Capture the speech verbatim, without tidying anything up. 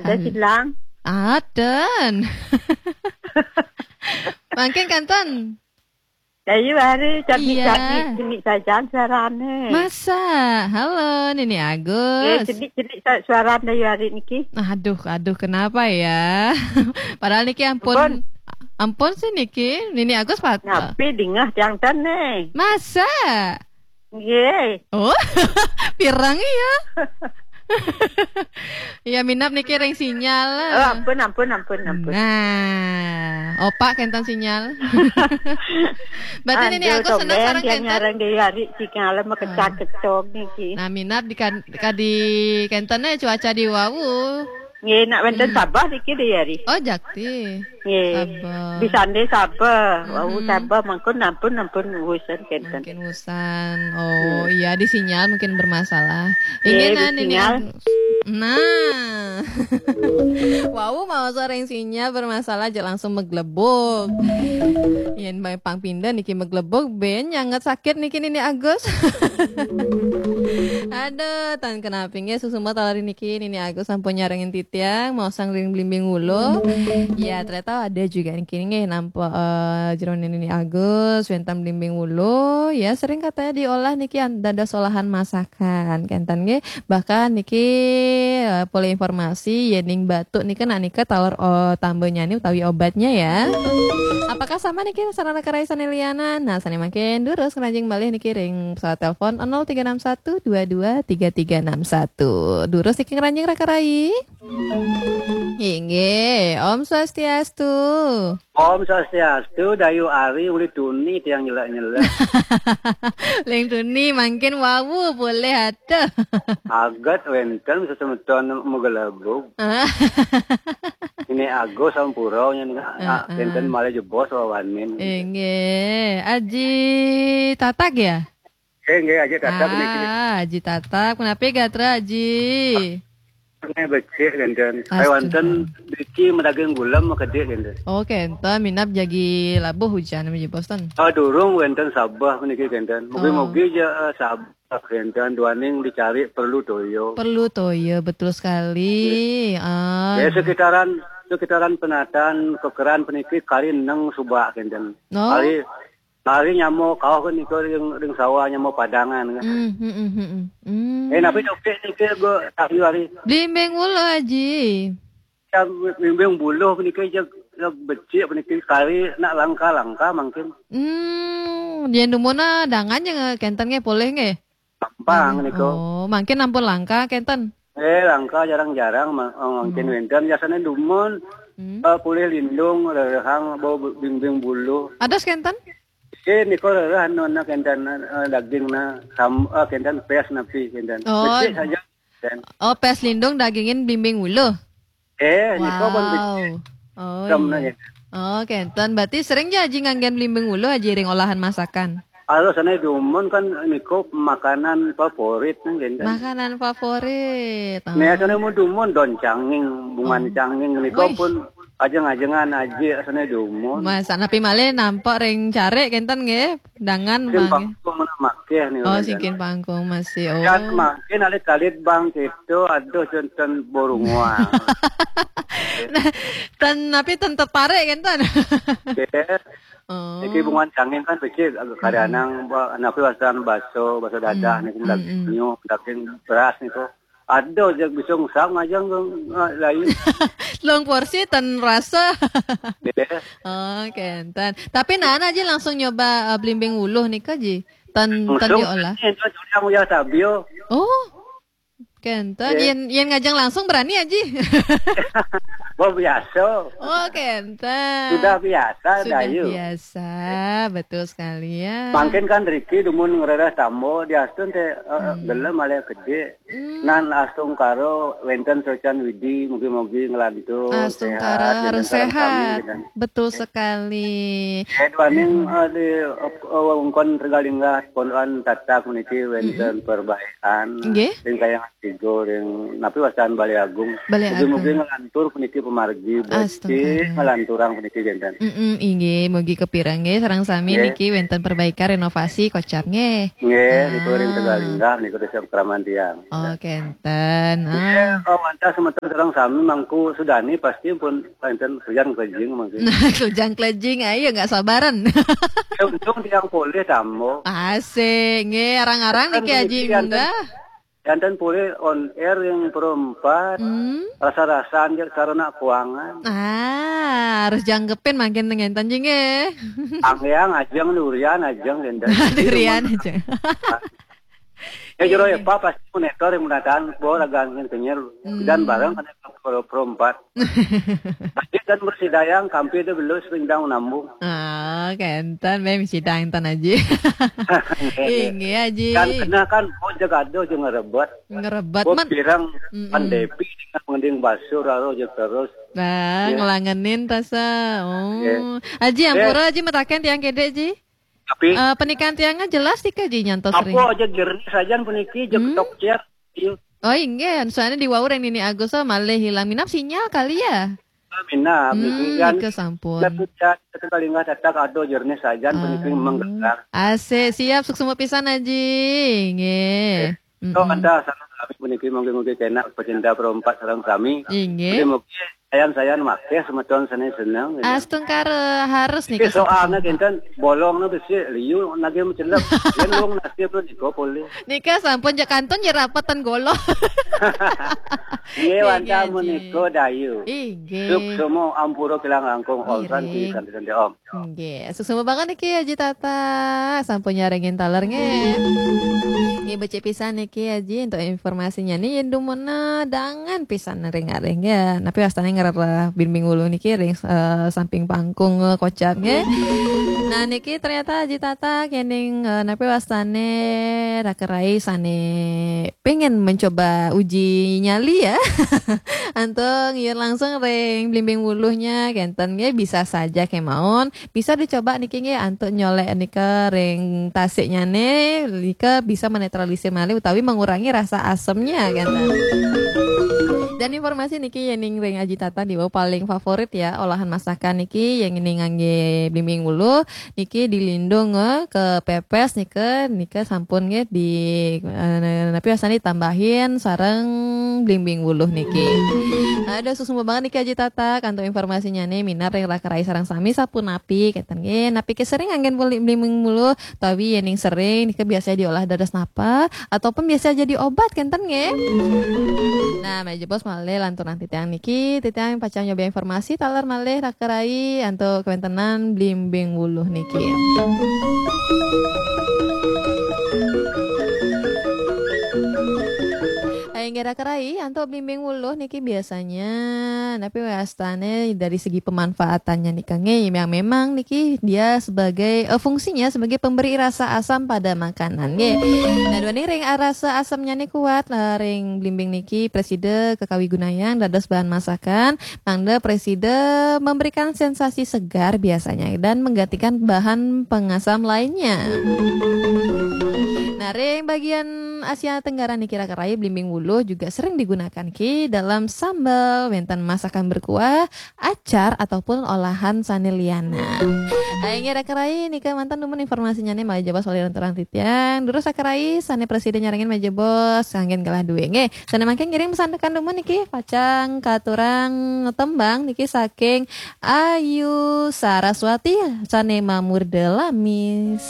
Ada silang. Aden. Mangkin kanten. Dayu Ari, cedhik-cedhik, cenik sajan suarane. Masa? Halo, Nini Agus. Eh, cenik-cenik sa-, suarane Dayu Ari niki. Aduh, aduh, kenapa ya? Padahal niki ampun, ampun sih niki, Nini Agus pat-, Napi dingeh tiang ten ne? Masa? Nggih. Oh, pirang ya? Iya, minap niki ring sinyal lah. Oh, ampun, ampun, ampun, ampun. Nah, opak kenten sinyal. Berarti Nini Agus seneng sareng kenten? Nyareng Dayu Ari sinyale makecak-kecok niki. Nah, minap di kan-, kadi kenten cuaca di wau. Nggih, nak wenten Sabah niki Dayu Ari. Oh, jakti. Nggih. Sabah. Di sande Sabah. Wau Sabah mangkon ampun, ampun wusan kenten. Mungkin wusan. Oh, iya, di sinyal mungkin bermasalah. Nggih, ini di nah, Nini sinyal. Agus. Nah. Wau mau sareng sinyal bermasalah aja langsung meglebug. Yen bae pang pindah niki meglebug, ben nyanget sakit niki Nini Agus. Aduh, tan kenapi nggih susumbat lari niki Nini Agus sampun nyarengin titiang, mau sang ring blimbing wulu. Ya, ternyata ada juga niki nggih nampa, eh, jeroning Nini Agus, wenten blimbing wulu. Ya, sering katanya diolah niki an-, dados olahan masakan. Kenten nggih. Bahkan niki, eh, polih informasi, yening batuk nika nak nika taler, eh, tambanyane utawi obatnya ya. Apakah sama niki sarana karaisan Eliana? Nah, sane mangkin durus ngranjing malih niki ring pesawat telepon nol tiga enam satu dua dua tiga tiga enam satu. Durus niki ngranjing Raka Rai. Inggih, Om Swastiastu. Om Swastiastu, Dayu Ari uli tuni tiang nyelek-nyelek. Ling tuni mangkin wau boleh ada. Aget wenten sesemeton megelebug. Ini Agus sampura nya nika. Ah, ah. Wenten malih jebos wawanin. Inggih, Aji Tatak ya? Eh, nggih, Aji Tatak niki. Ah, Aji Tatak, menapi gatra Aji? Nggih, becik kenten. Astaga. Ai wonten niki medaging gulem makedik kenten. Oh, kenten minap jagi labuh hujan menawi Boston. Ah, durung wenten Sabah niki kenten. Mugi-mugi ja, eh, Sabah kenten duaning dicari perlu toya. Perlu toya, betul sekali. Ah. Ya, sekitaran, sekitaran Penataan, Kekeran peniki kari neng subak kenten. Oh. Kari Kari nyama kauh kan nika ring, ring sawah nyama padangan kan. Hmm, hmm, hmm, hmm, hmm. Eh, napi topik niki go Dayu Ari? Blimbing wulu, Aji. Ya, blimbing buluh niki jeg, jeg becik niki kari nak langka-langka mangkin. Hmm, yen dumun dangan nya kenten nggih polih nggih. Gampang nika. Oh, mangkin ampun langka kenten. Eh, langka jarang-jarang ma-, mangkin wenten. Biasane dumun, eh, polih lindung, rerehang, bau blimbing buluh. Ados kenten? Eh, nika rereh anu, anu kenten, eh, dagingna, sam-, eh, kenten pes napi kenten. Oh. Becik saja kenten. Oh, pes lindung dagingin blimbing wulu. Eh, nika pun becik. Wow. Oh, iya. Oh, kenten. Berarti sering ja Aji nganggen blimbing wulu Aji ring olahan masakan? Kalau sane dumun kan nika makanan favorit nang kenten. Makanan favorit. Oh. Nih, sane mun dumun daun canging, bungan canging nika pun ajeng-ajengan Aji sane dumun. Mas, napi malih nampak ring carik kenten nggih? Dangan singkin mangke. Pangkung mana makeh nih, oh, kenten. Singkin pangkung masih. Oh. Kan mangkin alit-alit bang kita, aduh, janten burung wah. Nah, ten napi ten tertarik kenten? Nggih. Oh. Niki bungan canging kan becik agak karianang, ba-, napi wastan baso, baso dadah niki, daging nyuh, daging beras niku. Ada jak bisa ngusap ngajeng ke, eh, lain. Telung porsi ten rasa. Nggih. Oh, kenten. Tapi naen Aji langsung nyoba, eh, blimbing wuluh nika, Ji? Ten, ten diolah. Langsung, enten sudah uyah sabio. Oh. Kenten. Nggih. Yen, yen ngajeng langsung berani, Aji? Oh, biasa. Oh, kenten. Sudah biasa, Dayu. Sudah biasa, betul sekali ya. Mangkin kan riki dumun ngrereh tamba, diastun te, eh, gelem malih kedik. Hmm. Nan astungkara wenten socan widi, mugi-mugi nglantur. Astungkara sehat, harus sehat. Betul sekali. Eh, duaning, eh, di, eh, wewengkon Tegalinggah, Pondokan Tatak niki wenten perbaikan. Nggih. Ring Kayangan Tiga, ring napi wastan Balai Agung. Balai Agung. Mugi-mugi nglantur puniki Margi becik, ngelanturang puniki kinten. Mm-mm, inggih, mugi kapireng nggih sareng sami nggih. Niki wénten perbaikan renovasi kocap nggih. Nggih, niku ring Tegalinggah niku desa Kraman tiang. Oh, kenten. Nggih, oh, wantah semeton sareng sami mangku sudani pasti pun wénten kerjang kelejing mangkin. Nah, kerjang kelejing, ayo nggak sabaran. Ya, untung tiang polih tambo. Asik, nggih, arang-arang niki Aji munggah. Janten polih on air yang perempat, hmm? Rasa-rasaan jeung sarana keuangan. Ah, harus jangkepin mangkin ngenten jing eh. Anggeang ajeng durian ajeng ngenten. Durian ajeng. Ya jero ya Pak pasti monitor yang menataan bahwa raga angin kenyel. Hmm. Dan bareng kan perempat. Masjid dan bersidayang kampir deh belus pindang nambung. Ah, kenten bé sidang tan Aji. Inggih Aji. Kan kena kan oh jagado jeung ngerebet. Ngerebet man. Pirang pandepi dengan mending basur aro jeung terus. Nah, ngelangenin rasa. Oh. Aji ampura Aji metaken tiang kedek Ji. Tapi eh, pernikahan tiangnya jelas sih Ji nyantos ring. Apa aja jernih sajan puniki jeung tok ciat. Iya. Oh inggih, soalnya di wau ring Nini Agus oh, malih hilang minap sinyal kali ya. Minap, hmm, niki kan. Nika sampun. Tapi ya, satu kali nggak datang ado jernih sajan puniki menggerak. Asik, siap suksma pisan Aji. Nggih. Toh anda sareng sami puniki mungkin-mungkin kena pecinta perempat sareng sami. Inggih. Mungkin mungkin sayan-sayan makeh semeton seni seneng. Astungkara harus nih. Soalnya kinten bolong na besi liu nage mencelep. Yen wong nasib lo diko polih. Nika sampun jak kantun ya rapetan golo. Iya wanda menika dayu. Inggih. Suk semua ampura kilang langkung om santi santi santi om. Nggih, suksma banget niki Aji Tata. Sampun nyarengin taler nggih. Nggih becik pisan niki Aji untuk informasinya nih yen dumuna dangan pisan ring-aring ya. Napi wastane ngerereh Blimbing Wuluh niki ring eh, samping pangkung eh, kocap nggih. Nah niki ternyata Aji Tata kening eh, napi wastane rakerai sane pengen mencoba uji nyali ya. Antuk ngiur langsung ring Blimbing Wuluhnya kenten nggih bisa saja kemawon. Bisa dicoba niki nggih antuk nyolek nika ring tasiknyane nika bisa menetralisir malih utawi mengurangi rasa asemnya kenten. Dan informasi niki yening ring Aji Tata diwa paling favorit ya olahan masakan niki yang ini ngangge Blimbing Wuluh. Niki dilindung eh, ke pepes nika nika sampun nggih di eh, napi wastani tambahin sareng Blimbing Wuluh niki. Ada suksma banget niki Aji Tata kantuk informasinya nih minat ring rakerai sareng sami sapunapi kenten nggih napi ke sering anggen beli Blimbing Wuluh tawi yening sering nika biasa diolah dados napa ataupun biasa jadi obat kenten nggih. Nah, meja bos malih lanturan titiang niki titiang pacang nyoba informasi taler malih rakerai antuk kewentenan Blimbing Wuluh niki. Inggih rakerai antuk Blimbing Wuluh niki biasanya napi wastane dari segi pemanfaatannya nika nggih yang memang niki dia sebagai eh, fungsinya sebagai pemberi rasa asam pada makanan nggih. Nah, duaning ring rasa asamnya nih kuat lah ring Blimbing niki presida kekawigunayang dados bahan masakan mangda presida memberikan sensasi segar biasanya dan menggantikan bahan pengasam lainnya. Nah, ring bagian Asia Tenggara niki rakerai Blimbing Wuluh juga sering digunakan ki dalam sambal, wenten masakan berkuah, acar ataupun olahan sane liana. Aing rakerai nika mantan dumun informasinya nih malih jebos wali lanturang titiang. Durus rakerai sane presiden nyarengin malih jebos anggen galah duwe nggih. Sane mangke ngiring pesan tekan dumun niki pacang katurang tembang niki saking Ayu Saraswati sane mamurda lamis.